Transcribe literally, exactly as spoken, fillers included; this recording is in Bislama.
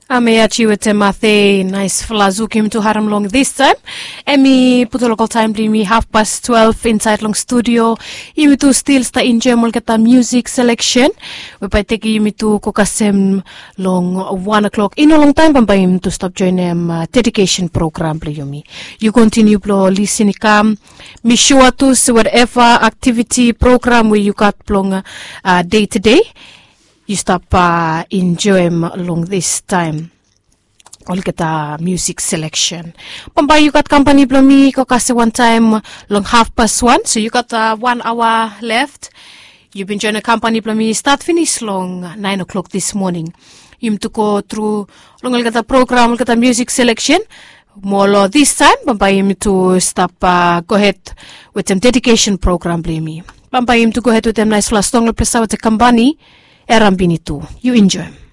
Ameachi wetem Mathe, naisfala zuk yumi tu harem long distaem. Em i putu lokal taem blong yumi hafpas twelve insaed long studio. Yumi tu stil stap enjoem olgeta musik seleksen we bae tekem yumi tu go kasem long wan o'clock. I no longtaem bambae yumi tu stap joenem dedikesen program blong yumi. Yu kontiniu blong lisin i kam. Mi sua tu se whatever aktiviti program we yu gat blong dei tedei, yu stap enjoem long distaem olgeta musik seleksen. Bambae yu gat kampani blong mi go kasem wantaem long hafpas wan, so yu gat wan aoa left. Yu bin joenem kampani blong mi stat finis long naen o'clock dis moning. Yumi tu go tru long olgeta program, olgeta musik seleksen. Mo long distaem bambae yumi tu stap gohed wetem dedikesen program blong yumi. Bambae yumi tu gohed wetem naisfala song long plesa wetem kampani Erambini tu. Yu enjoem.